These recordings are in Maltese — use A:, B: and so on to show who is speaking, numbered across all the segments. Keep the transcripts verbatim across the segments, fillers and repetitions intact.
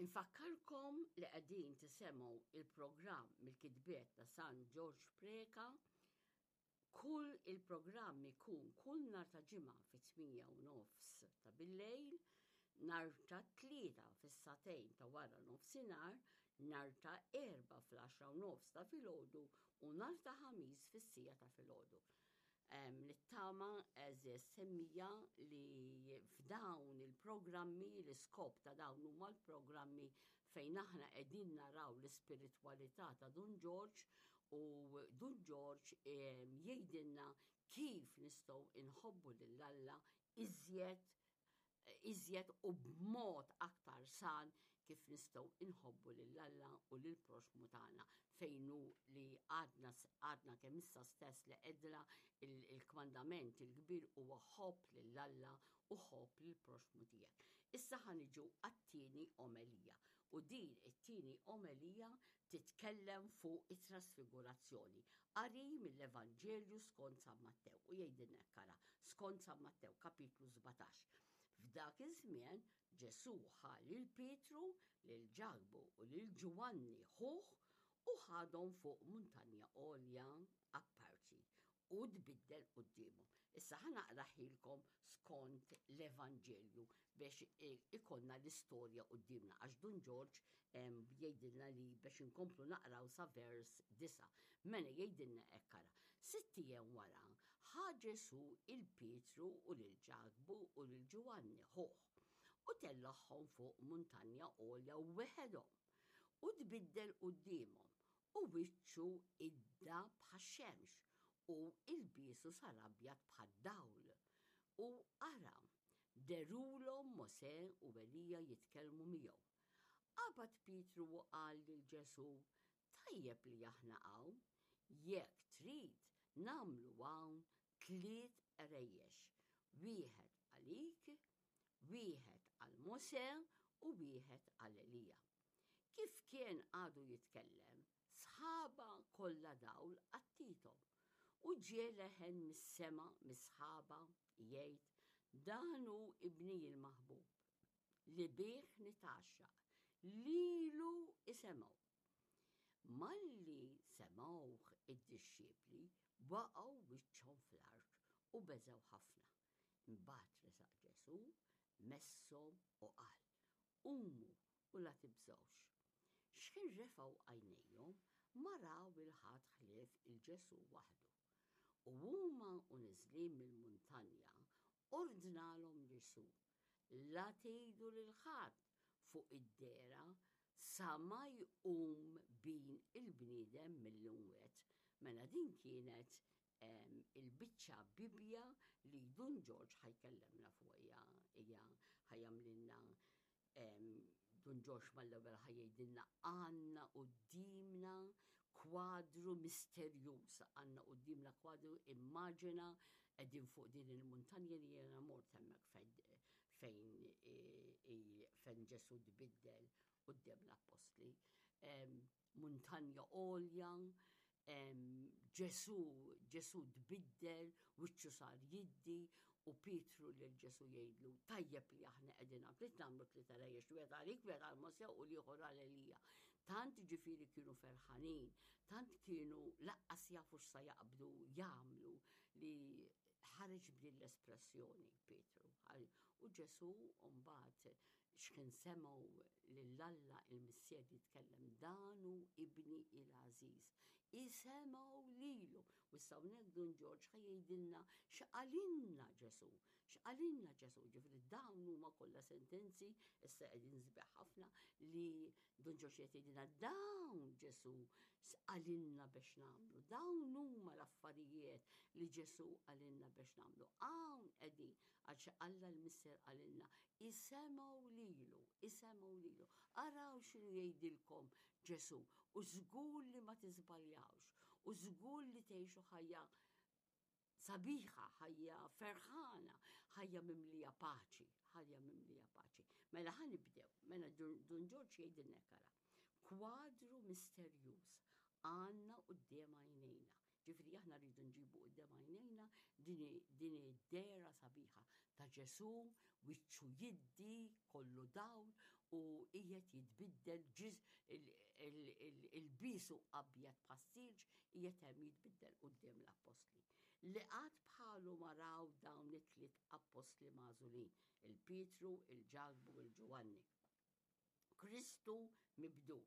A: Infakkarkom li qegħdin tisimgħu il-programm mill-kitbiet ta' San Ġorġ Preca. Kull il-programm ikun kull nhar ta' Ġimgħa fit-tmienja u nofs ta' billejl, nhar ta' Tlieta fis-sagħtejn ta' wara nofsinhar, nhar ta' Erbgħa fl-għaxra u nofs ta' filgħodu u nhar ta' Ħamis fis-siegħa ta' filgħodu. Nittama, għeżież semmiegħa, li f'dawn il-programmi, l-iskop ta' dawn huma l-programmi fejn aħna qegħdin naraw l-ispiritwalità ta' Dun Ġorġ u Dun Ġorġ jgħidilna kif nistgħu inħobbu lil Alla iżjed iżjed u b'mod aktar san, kif nistgħu inħobbu lil Alla u lil proxmu tagħna, fejn hu li għadna għadna kemm issa stess li għedna il-kmandament il-kbir huwa ħobb lil Alla u ħobb lil proxmu tiegħek. Issa ħa niġu għat-tieni omelija u din it-tieni omelija titkellem fuq it-trasfigurazzjoni. Qari mill-Evanġelju skont San Mattew u jgħidilna ara, skont San Mattew kapitlu sbatax. F'dak iż-żmien Ġesù ħa lil Pietru, lil Ġakbu u lil Ġwanni ħuh u ħadhom fuq muntanja għolja apparti u tbiddel quddiemhom. Issa ħa naqrahielkom skont l-Evanġelju biex ikollna l-istorja quddiemna, għax Dun Ġorġ jgħidilna li biex inkomplu naqraw sa vers disa. Mela jgħidilna hekk, ara. Sitt ijiem wara ħa Ġesù lil Pietru u lil Ġakbu u lil Ġwanni ħuh u tellagħhom fuq muntanja għolja weħedhom u tbiddel quddiemhom u wiċċu idda bħax-xemx u ilbiesu sar abjad bħad-dawl. U ara, dehrulhom Mosè u Elija jitkellmu miegħu. Qabad Pietru u qal lil Ġesù, "Tajjeb li aħna hawn, jekk trid nagħmlu hawn tliet għerejjex, wieħed għalik, wieħed għal Mosè u wieħed għal Elija." Kif kien għadu jitkellem, sħaba kollha dawl għattiethom u ġie leħen mis-sema mis-sħaba jgħid, "Dan hu ibni il-maħbub li bih nitgħaxxaq, lilu isimgħu." Malli semgħuh id-dixxipli waqgħu wiċċhom fl-art u beżgħu ħafna. Imbagħad resaq Ġesù, messhom u qal, "Qumu u la tibżgħux." Xħin refgħu għajnejhom ma raw 'il ħadd ħlief lil Ġesù waħdu. U huma u neżlin mill-muntanja ordnalhom Ġesù, "La tgħidu lil ħadd fuq id-dehra sa ma jqum Bin il-bniedem mill-imwiet." Mela din kienet il-biċċa Bibja li Dun Ġorġ ħa jkellimna fuq hija ħa jagħmlilna. Dun Ġorġ mal-ewwel ħa jgħidilna għandna quddiemna kwadru misterjuż, għandna quddiemna kwadru, immaġina qegħdin fuq din il-muntanja li jiena mort hemmhekk fejn fejn Ġesù tbiddel quddiem l-appostli. Muntanja għolja, Ġesù, Ġesù tbiddel, wiċċu sar jiddi u Pietru lil Ġesù jgħidlu, "Tajjeb li aħna qegħdin hawn, trid nagħmlu tliet għerejjex, wieħed għalik, wieħed għal Mosè u l-ieħor għal Elija." Tant ġifieri kienu ferħanin, tant kienu lanqas jafu x'sa jaqbdu jagħmlu li ħareġ b'din l-espressjoni Pietru. U Ġesù mbagħad x'kien semgħu lil Alla il-Missier jitkellem, "Dan hu ibni il-għażiż. Isimgħu lilu." U issa hawnhekk Dun Ġorġ ħa jgħidilna x'qalilna Ġesù. X'qalilna Ġesù, ġifieri dawn huma kollha sentenzi issa qegħdin sbieħ ħafna li Dun Ġorġ qed jgħidilna dawn Ġesù qalilna biex nagħmlu. Dawn huma l-affarijiet li Ġesù qalilna biex nagħmlu. Hawn qegħdin għax Alla l-Missier qalilna isimgħu lilu, isimgħu lilu. Araw x'inhu jgħidilkom Ġesù u żgur li ma tiżbaljawx u żgur li tgħixu ħajja sabiħa, ħajja ferħana, ħajja mimlija paċi, ħajja mimlija paċi. Mela ħa nibdew, mela Dun Ġorġ jgħidilna ara. Kwadru misterjuż għandna quddiem għajnejna. Ġifieri aħna rridu nġibu quddiem għajnejna din id-dehra sabiħa ta' Ġesù, wiċċu jiddi, kollu dawl u qisu qiegħed jitbiddel il-bisu abjad bħas-silġ qiegħed hemm jitbiddel quddiem l-appostli. Li qatt bħalu ma raw dawn it-tliet appostli magħżulin, il-Pietru, il-Ġakbu u l-Ġwanni. Kristu mibdul.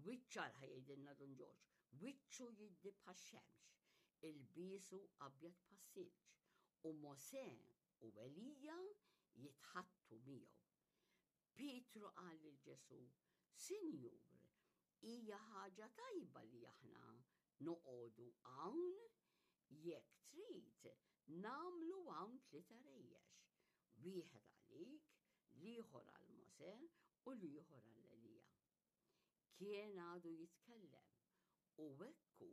A: Wiċċu ħa jgħidilna Dun Ġorġ, wiċċu jiddi bħax-xemx, ilbiesu abjad bħas-silġ, u Mosè u Elija jitħaddtu miegħu. Pietru qal lil Ġesù, Sinjur, hija ħaġa tajba li aħna noqogħdu hawn, jekk trid nagħmlu hawn tliet għarajjex, wieħed għalik, l-ieħor għal Mosè u l-ieħor għal Elija. Kien għadu jitkellem u ekku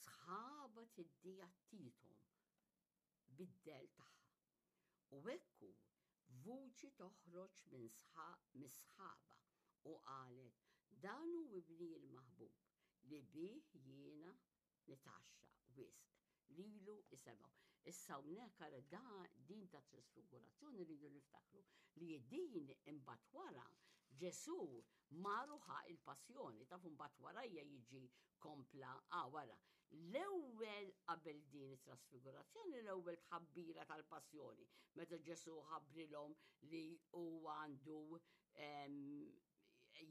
A: sħaba tiddi għattithom bid-dell tagħha. U ekku vuċi toħroġ minn mis-sħaba u qalet, dan hu ibni l-maħbub li bih jiena nitgħaxxaq wisq, lilu isimgħu. Issa hawnhekk ara da din ta' trasfigurazzjoni rridu niftakru li din imbagħad wara Ġesù mar u ħa il-passjoni, taf mbagħad warajja jiġi kompla ah, wara. L-ewwel qabel din it-trasfigurazzjoni, l-ewwel tħabbira tal-passjoni, meta Ġesù ħabbrilhom li huwa għandu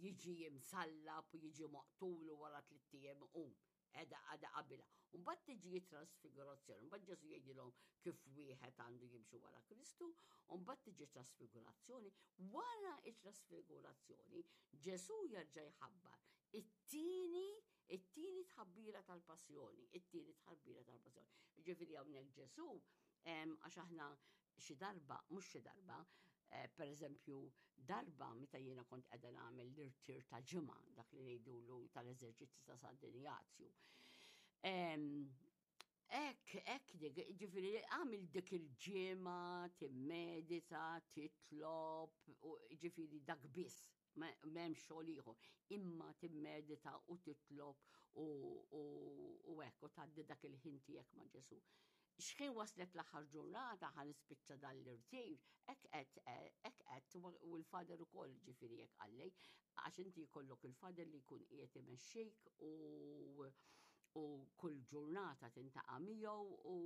A: jiġi imsallab u jiġi maqtul u wara tliet ijiem iqum. Edha għada qabilha. Mbagħad tiġi trasfigurazzjoni, mbagħad Ġesù jgħidilhom kif wieħed għandu jimxi wara Kristu, u mbagħad tiġi trasfigurazzjoni. Wara it-trasfigurazzjoni, Ġesù jerġa' jħabbar it-tieni it-tieni tħabbira tal-passjoni, it-tieni tħabbira tal-passjoni. Ġifieri hawnhekk Ġesù għax aħna xi darba, mhux xi darba, eh, per eżempju, darba meta jiena kont qiegħda nagħmel l-irtir ta' ġimgħa, dak li ngħidulu tal-eżerċizzi ta' San Injazju. Ek, ek, ġifieri, għamil dik il-ġimgħa, timmedita, titlob, ġifieri dak biss, m'hemm xogħol ieħor, imma timmedita u titlob u hekk u tgħaddi dak il-ħin tiegħek ma' Ġesù. Xħin waslet l-aħħar ġurnata ħa nispiċċa dan l-irtir, hekk qed hekk qed u l-father ukoll ġifieri hekk qalli, għax inti jkollok il-father li jkun qiegħed imexxik u u kull ġurnata tiltaqa' miegħu u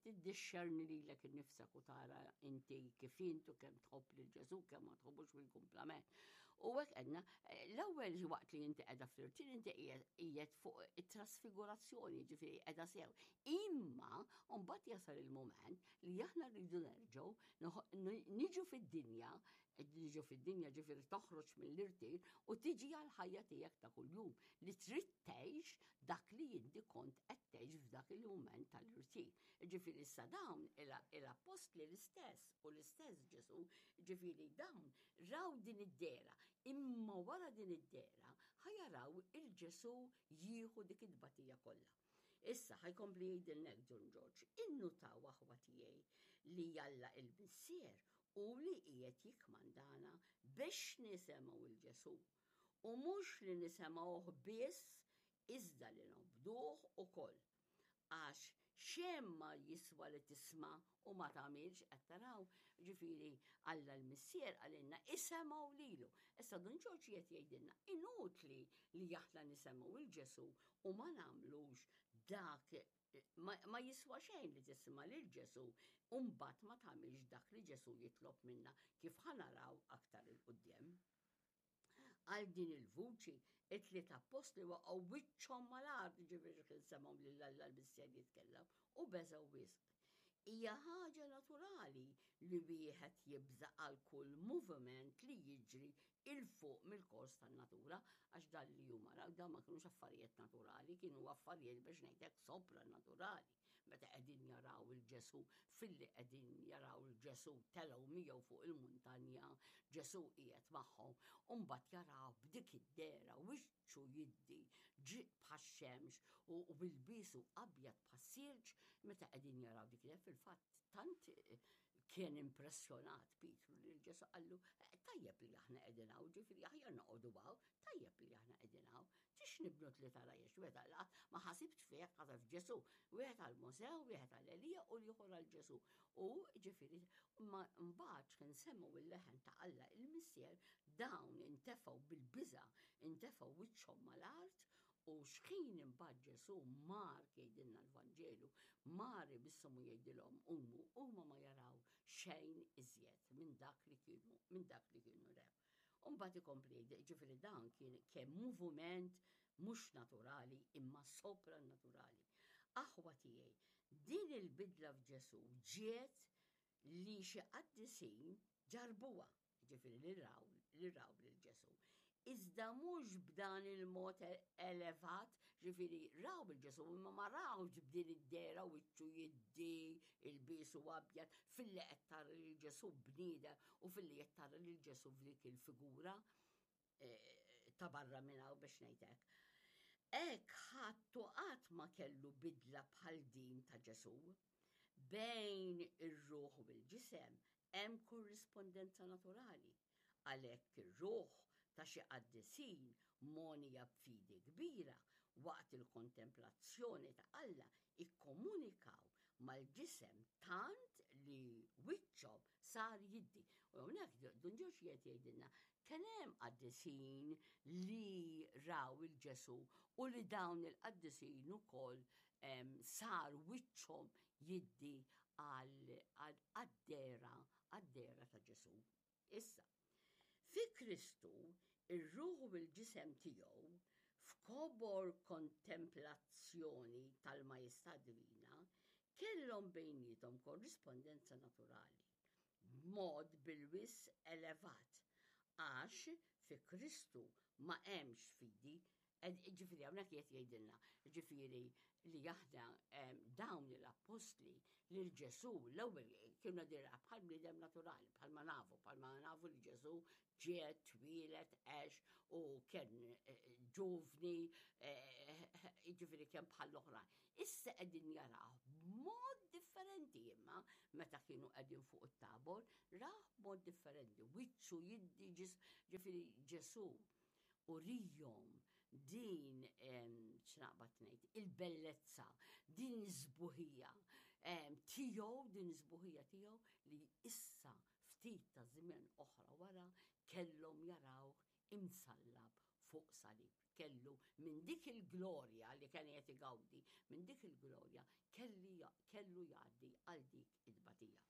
A: tiddixxerni lilek innifsek u tara inti kif int u kemm tħobb lil Ġesù, kemm ma tħobbux bil-kumplament. U hekk għedna, l-ewwel waqt li inti qiegħda fl-irtir inti qiegħed fuq it-trasfigurazzjoni, ġifieri qiegħda sew. Imma mbagħad jasal il-mument li aħna rridu nerġgħu niġu fid-dinja, niġu fid-dinja ġifieri toħroġ mill-irtir u tiġi għal-ħajja tiegħek ta' kuljum li trid tgħix dak li inti kont qed tgħix f'dak il-mument tal-irtir. Ġifieri issa dawn il-appostli l-istess u l-istess Ġesù, ġifieri dawn raw din id-dehra, imma wara din id-dehra ħa jaraw il-Ġesù jieħu dik id-batija kollha. Issa ħa jkompli jgħidilna Dun Ġorġ, innutaw aħwa tiegħi li Alla il-Missier u li qiegħed jikkmandana biex nisimgħu il-Ġesù. U mhux li nisimgħuh biss, iżda li nobduh ukoll. Għax xejn ma jiswa li tisma' u ma tagħmilx qed taraw, ġifieri Alla l-Missier qalilna isimgħu lilu. Issa Dun Ġorġ qed jgħidilna inutli li aħna nisimgħu il-Ġesù u ma nagħmlux dak ma, ma jiswa xejn li tisma' lil Ġesù u mbagħad ma tagħmilx dak li Ġesù jitlob minna kif ħa naraw aktar 'il quddiem. Għal din il-vuċi, it-tliet appostli waqgħu wiċċhom mal-art, ġifieri kien semgħu lil Alla l-Missier jitkellem u beżgħu wisq. Hija ħaġa naturali li wieħed jibża' għal kull moviment li jiġri 'il fuq mill-kors tan-natura, għax dan li huma raw dan ma kienux affarijiet naturali, kienu affarijiet biex ngħidlek sopranaturali. Meta qegħdin jaraw il-Ġesù, filli qegħdin jaraw il-Ġesù telgħu miegħu fuq il-muntanja, Ġesù qiegħed magħhom, u mbagħad jaraw b'dik id-dehra wiċċu jiddi ġi bħax-xemx u bilbisu abjad bħas-silġ, meta qegħdin jaraw dik id fil-fatt tant kien impressjonat Pietru li l-Ġesù qallu tajjeb li aħna qegħdin hawn, ġifieri aħjar noqogħdu hawn, tajjeb li aħna qegħdin hawn. Tix nibnu tliet għarajjex, wieħed għal ma ħasibx fih ħaseb f'Ġesù, wieħed għal Mosè, wieħed għal Elija u l-ieħor għal Ġesù. U ġifieri ma mbagħad kien semgħu il-leħen ta' Alla il-Missier Dawn intefgħu bil-biża', intefgħu wiċċhom mal-art, u xħin imbagħad Ġesù mar, jgħidilna l-Vanġelu, mar imisshom u jgħidilhom qumu, huma ma jaraw xejn iżjed minn dak li kienu minn dak li kienu rew. U mbagħad ikompli jgħid, ġifieri dan kien kemm moviment mhux naturali imma sopranaturali. Aħwa tiegħi, din il-bidla f'Ġesù ġiet li xi qaddisin ġarbuha, ġifieri li raw li raw lil Ġesù. Iżda mhux b'dan il-mod elevat, ġifieri raw lil Ġesù imma ma rawx b'din id-dehra wiċċu jiddi, ilbiesu abjad, filli qed tara lil Ġesù bniedem u filli qed tara lil Ġesù f'dik il-figura ta' barra minn hawn biex ngħidlek. Hekk ħadd u qatt ma kellu bidla bħal din ta' Ġesù. Bejn ir-ruħ u l-ġisem hemm korrispondenza naturali. Għalhekk ir-ruħ ta' xi qaddisin mogħnija b'fidi kbira waqt il-kontemplazzjoni ta' Alla ikkomunikaw mal-ġisem tant li wiċċhom sar jiddi. U hawnhekk Dun Ġorġ qed jgħidilna kien hemm qaddisin li raw il-Ġesù u li dawn il-qaddisin ukoll sar wiċċhom jiddi għad-dehra għad-dehra ta' Ġesù. Issa, fi Kristu ir-ruħ u l-ġisem tiegħu f'kobor kontemplazzjoni tal-Majestà Divina kellhom bejniethom korrispondenza naturali b'mod bil-wisq elevat, għax fi Kristu ma hemmx fidi. Ġifieri hawnhekk qed jgħidilna, ġifieri li aħna dawn l-appostli lil Ġesù l-ewwel kienu dira bħal bniedem naturali, bħal ma nafu, bħal ma nafu li Ġesù ġie, twieled, għex u kien ġuvni, ġifieri kien bħal l-oħrajn. Issa qegħdin jaraw b'mod differenti, imma meta kienu qegħdin fuq it-Tabor, raw b'mod differenti, wiċċu jiddi, ġifieri Ġesù urijhom din, x'naqbad ngħid, il-bellezza, din iż-sbuħija tiegħu, din iż-sbuħija tiegħu li issa ftit ta' żmien oħra wara kellhom jaraw imsallab fuq salib. Kellu minn dik il-glorja li kien qed igawdi, minn dik il-glorja kellu jgħaddi għal dik it-tbatija.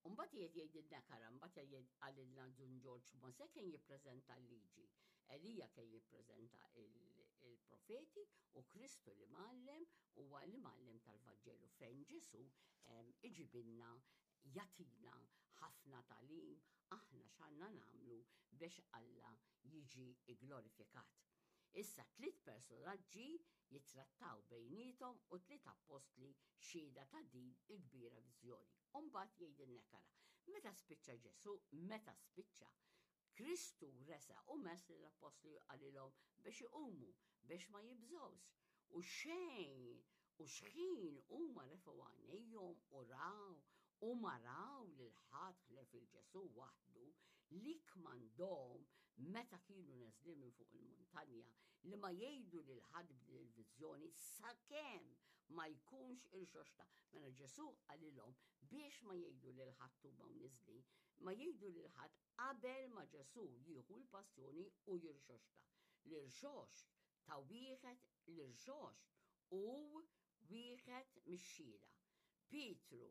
A: Mbagħad qiegħed jgħidilna kara, mbagħad jgħid qalilna Dun Ġorġ, Mosè kien jippreżenta l-liġi, Elija kien jippreżenta il-profeti u Kristu li mgħallem huwa li mgħallem tal-Vanġelu fejn Ġesù iġibilna, jagħtina ħafna tagħlim aħna x'għandna nagħmlu biex Alla jiġi glorifikat. Issa tliet personaġġi jittrattaw bejnietom u tliet appostli xhieda ta' din il-kbira viżjoni. U mbagħad jgħidilna kara, meta spiċċa Ġesù, meta spiċċa, Kristu resa u mess lill-appostli qalilhom biex iqumu, biex ma jibżgħux. U xejn, u xħin huma refgħu għajnejhom u raw u ma raw lil ħadd ħlief il-Ġesù waħdu li kmandhom meta kienu neżlin minn fuq il-muntanja li ma jgħidu lil ħadd b'din il-viżjoni sakemm ma jkunx irxoxta. Mela Ġesù qalilhom biex ma jgħidu lil ħadd huma neżlin, ma jgħidu lil ħadd qabel ma Ġesù jieħu l-passjoni u jirxoxta. L-irxoxt ta' wieħed, l-irxoxt u wieħed mix-xhieda. Pietru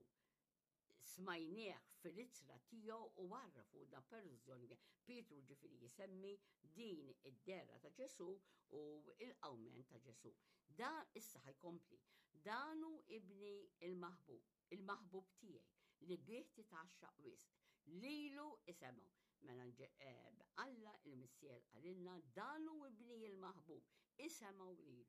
A: smajnieh fil-ittra tiegħu u għarrafu da perżjoni. Pietru ġifieri jisemmi din id-dehra ta' Ġesù u il-qawmien ta' Ġesù. Dan issa ħa jkompli. Dan hu ibni il-maħbub, il-maħbub tiegħi li bih titgħaxxaq wisq. Lilu isemgħu. Mela Alla il-Missier qalilna dan hu ibni il-maħbub, isemgħu lilu.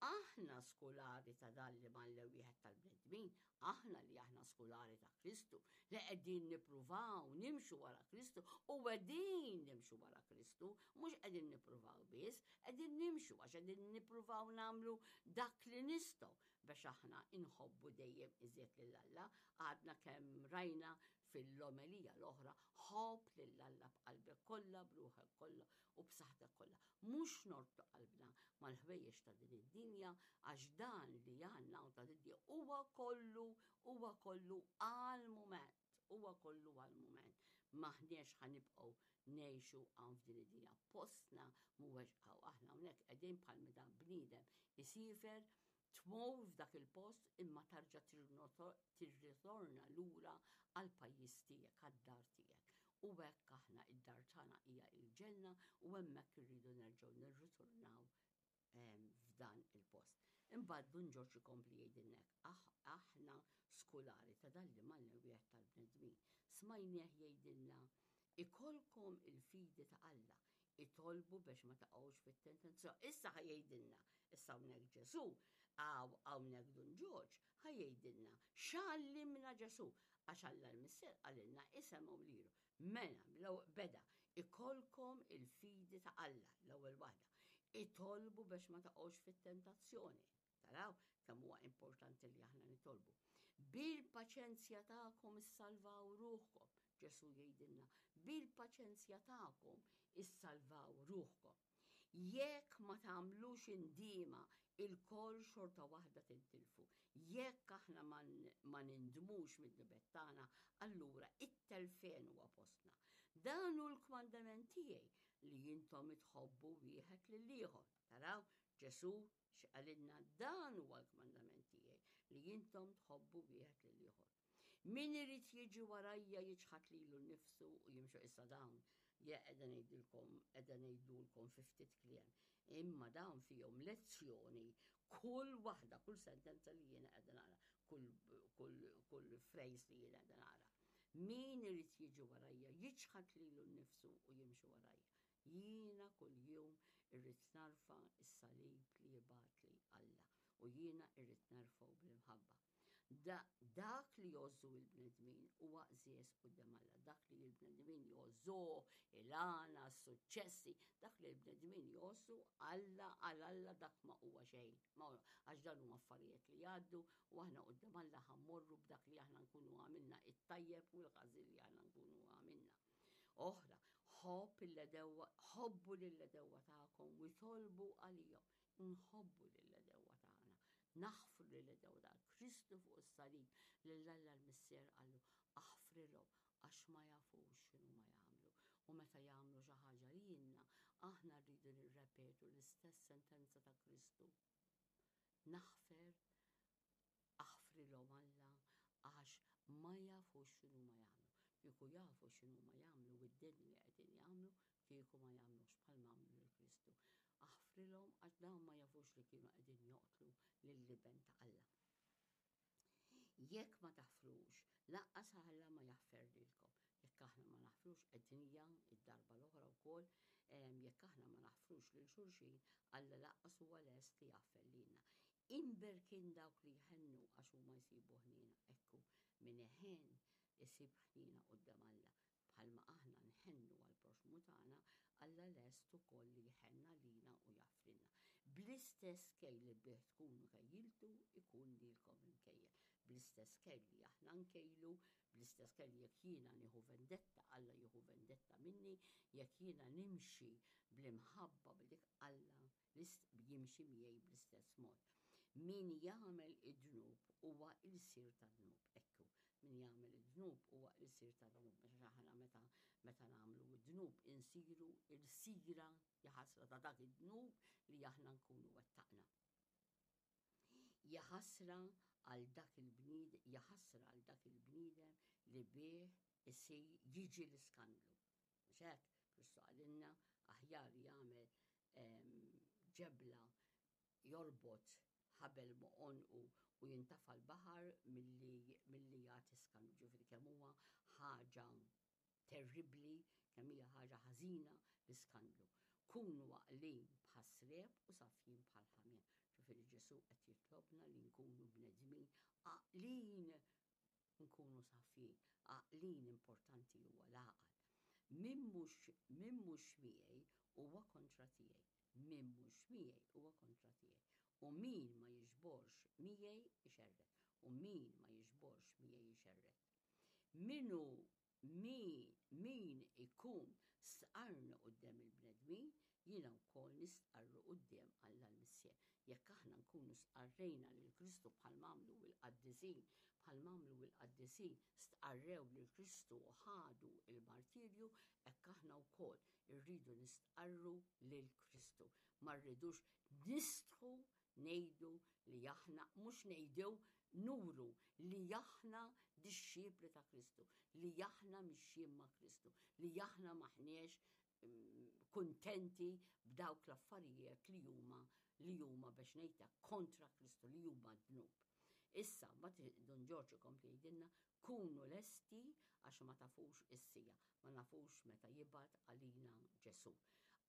A: Aħna skulari ta' dan li mgħallem wieħed tal-bnedmin, aħna li aħna skulari ta' Kristu, li qegħdin nippruvaw nimxu wara Kristu u qegħdin nimxu wara Kristu, mhux qegħdin nippruvaw biss, qegħdin nimxu għax qegħdin nippruvaw nagħmlu dak li nistgħu biex aħna inħobbu dejjem iżjed lil Alla. Għadna kemm rajna fil-omelija l-oħra, ħobb lil Alla b'qalbek kollha, b'ruħek kollha u b'saħħtek kollha. Mhux norbtu qalbna mal-ħwejjeġ ta' din id-dinja, għax dan li għandna u ta' din huwa kollu, huwa kollu għal mument, huwa kollu għal mument. M'aħniex ħa nibqgħu ngħixu hawn f'din id-dinja. Postna mhuwiex hawn. Aħna hawnhekk qegħdin bħal meta bniedem isiefer, tmur f'dak il-post imma tarġa' tirritorna lura għall-pajjiż tiegħek, għad-dar tiegħek. U hekk aħna id-dar tagħna hija l-ġenna u hemmhekk irridu nerġgħu nirritornaw f'dan il-post. Imbagħad Dun Ġorġ ikompli jgħidilna hekk, aħna skulari ta' dan li mgħallem wieħed tal-bnedmin. Smajnieh jgħidilna ikolkom il-fidi ta' Alla, itolbu biex ma taqgħux fit-tentazzjoni. Issa ħa jgħidilna, issa hawnhekk Ġesù, hawnhekk Dun Ġorġ, ħa jgħidilna x'għallimna Ġesù, għax Alla l-Missier qalilna isemgħu lilu. Mela, beda, ikolkom il-fidi ta' Alla, l-ewwel waħda. Itolbu biex ma taqgħux fit-tentazzjoni. Taraw kemm huwa importanti li aħna nitolbu. Bil-paċenzja tagħkom issalvaw ruħkom. Ġesù jgħidilna, bil-paċenzja tagħkom issalvaw ruħkom. Jekk ma tagħmlux indiema, ilkoll xorta waħda tintilfu. Jekk aħna ma nindmux mid-dnubiet tagħna, allura it-telfien huwa postna. Dan hu l-kmandament tiegħi li intom tħobbu wieħed lill-ieħor. Taraw, Ġesù x'qalilna, dan huwa l-kmandament tiegħi li intom tħobbu wieħed lill-ieħor. Min irid jiġi warajja jiċħad lilu nnifsu u jimxu. Issa dawn qiegħda ngħidilkom, qiegħda ngħidulkom fi ftit kliem. Imma dawn fihom lezzjoni kull waħda, kull sentenza li jiena qiegħda naqra, kull, kull, kull phrase li jiena qiegħda naqra. Min irid jiġi warajja jiċħad lilu nnifsu u jimxi warajja. Jiena kull jum irrid narfa' s-salib li jibgħatli Alla u jiena irrid nerfgħu bl-imħabba. Da, dak li jgħożżu il-bnedmin huwa għeżież quddiem Alla. Dak li l-bnedmin jgħożżuh, il-għana, s-suċċessi, dak li l-bnedmin jgħożżu Alla għal Alla dak ma huwa xejn. Għax dan huma affarijiet li jgħaddu u aħna quddiem Alla ħa mmorru b'dak li aħna nkunu għamilna, it-tajjeb u l-ħażin li aħna nkunu għamilna. Oħra, ħobb l-għedewwa, ħobbu lill-għedewwa tagħkom u itolbu għalihom. Nħobbu lill-għedewwa tagħna, naħfru lill-għedewwa tagħna. Kristu fuq is-salib lil Alla l-Missier qallu aħfrilhom għax ma jafux x'inhu ma jagħmlu. U meta jagħmlu xi ħaġa lilna, aħna rridu nirrepetu l-istess sentenza ta' Kristu. Naħfer, aħfrilhom Alla għax ma jafux x'inhu ma jagħmlu. Kieku jafu x'inhu ma jagħmlu u d-deni li qegħdin jagħmlu, kieku ma jagħmlux bħal ma għamlu lil Kristu. Aħfrilhom għax dawn ma jafux li kienu qegħdin joqtlu lill-Iben ta' Alla. Jekk ma taħfrux, lanqas Alla ma jaħfer lilkom. Jekk aħna ma naħfrux, qegħdinija id-darba l-oħra wkoll, jekk aħna ma naħfrux lil xulxin, Alla lanqas huwa lest li jaħfer lilna. Imberkin dawk li jħennu għax huma jsibu ħniena. Ekku, min iħenn isib ħniena quddiem Alla. Bħalma aħna nħennu għall-proxxmu tagħna, Alla lest ukoll li jħenn għalina u jaħfrilna. Bl-istess kejl li bih tkunu kejjiltu, ikun lilkom imkejjel. Bl-istess kejl li aħna nkejlu, bl-istess kejl jekk jiena nieħu vendetta, Alla jieħu vendetta minni, jekk jiena nimxi bl-imħabba b'dik Alla jimxi miegħi bl-istess mod. Min jagħmel id-dnub huwa ilsir tad-dnub. Ekku, min jagħmel id-dnub huwa ilsir tad-dnub. Meta aħna meta meta nagħmlu id-dnub insiru ilsira jaħasra ta' dak id-dnub li aħna nkunu wettaqna. Jaħasra għal dak il-bniedem, jaħasra għal dak il-bniedem li bih isir jiġi l-iskandlu. Mhux hekk, Kristu qalilna aħjar jagħmel ġebla jorbot ħabel ma' għonqu u jintafa' l-baħar milli milli jagħti skandlu. Ġifieri kemm huwa ħaġa terribbli, kemm hija ħaġa ħażina l-iskandlu. Kunu għaqlin bħas-sriep u safjin bħall-ħamiem. Ġifieri Ġesù qed jitlobna li nkunu bnedmin għaqlin, nkunu safjin. Għaqlin importanti huwa l-għaqal. Min mhux min mhux miegħi huwa kontra tiegħi. Min mhux miegħi huwa kontra tiegħi. U min ma jiġborx miegħi ixerred. U min ma jiġborx miegħi ixerred. Min hu min min ikun stqarrni quddiem il-bnedmin, jiena wkoll nistqarru quddiem Alla l-Missier. Jekk aħna nkunu stqarrejna lil Kristu bħalma għamlu l-qaddisin, Bħal m'għamlu l-qaddisin, stqarrew lil Kristu u ħadu il-martirju, hekk aħna wkoll irridu nistqarru lil Kristu. Ma rridux nistħu ngħidu li aħna, mhux ngħidu, nuru li aħna dixxipli ta' Kristu, li aħna mixjin ma' Kristu, li aħna m'aħniex mm, kuntenti b'dawk l-affarijiet li huma li huma biex ngħidha kontra Kristu, li huma dnub. Issa, ma Dun Ġorġ ikompli jgħidilna: kunu lesti għax ma tafux is-siegħa, ma nafux meta jibgħat għalina Ġesu.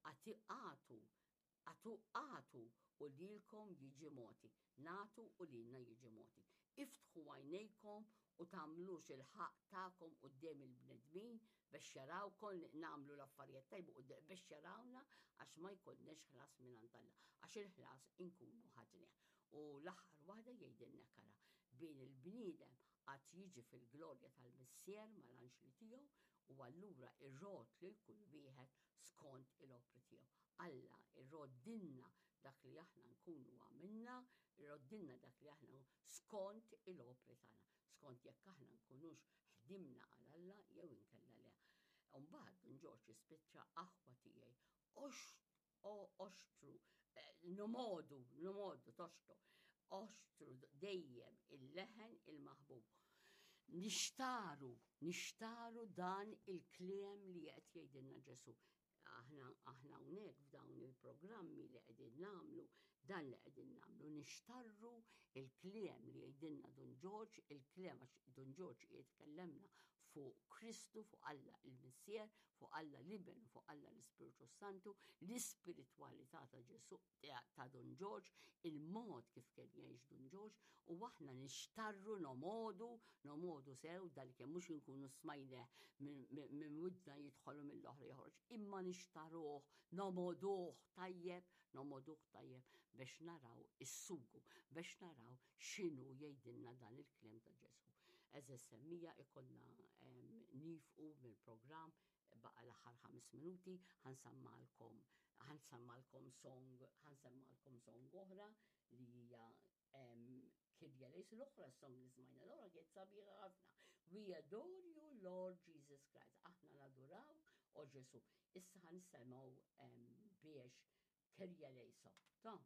A: Għatu, għatu, għatu u lilkom jiġi mogħti, nagħtu u lilna jiġi mogħti. Iftħu għajnejkom u tagħmlux il-ħaqq tagħkom quddiem il-bnedmin biex jarawkom li nagħmlu l-affarijiet tajba biex jarawna, għax ma jkollniex ħlas minn Alla, għax il-ħlas inkunu ħadnieh. U l-aħħar waħda jgħidilna kara, Bin il-bniedem għad jiġi fil-glorja tal-Missier mal-anġli tiegħu u allura irrodd lil kull wieħed skont il-opri tiegħu. Alla irroddilna dak li aħna nkunu għamilna, irroddilna dak li aħna skont il-opri tagħna, skont jekk aħna nkunux ħdimna għal Alla jew inkella le. Mbagħad Dun Ġorġ jispiċċa: aħwa tiegħi, oxtru, eh, nomodu, nomodu, toxtu, oxtru dejjem il-leħen il-maħbub. Nixtaru, nixtaru dan il-kliem li qed jgħidilna Ġesu. Aħna aħna hawnhekk f'dawn il-programmi li qegħdin nagħmlu, dan li qegħdin nagħmlu, nixtarru il-kliem li jgħidilna Dun Ġorġ, il-kliem għax Dun Ġorġ jitkellemna fuq Kristu, fuq Alla il-Missier, fuq Alla l-Iben, fuq Alla l-Ispiritu Santu, l-ispiritwalità ta' Ġesu, ta' Dun Ġorġ, il-mod kif kien jgħix Dun Ġorġ, u aħna nixtarru, nomodu, nomodu sew dal-kemm mhux inkunu smajnieh minn widna jidħolu mill-oħra joħroġ, imma nixtaruh, nomoduh tajjeb, nomoduh tajjeb biex naraw is-sugu, biex naraw x'inhu jgħidilna dan il-kliem ta' Ġesu. Għeżież semmiegħa, ikollna nieqfu mill-programm, baqa l-aħħar ħames minuti, ħa nsemmalkom ħa nsemmalkom song, ħa nsemmalkom song oħra li hija Kyrie Eleison. L-oħra song li smajna l-oħra kienet sabiħa ħafna. We adore you, Lord Jesus Christ. Aħna naduraw o Ġesu. Issa ħa nsemgħu biex Kyrie Eleison. Ta'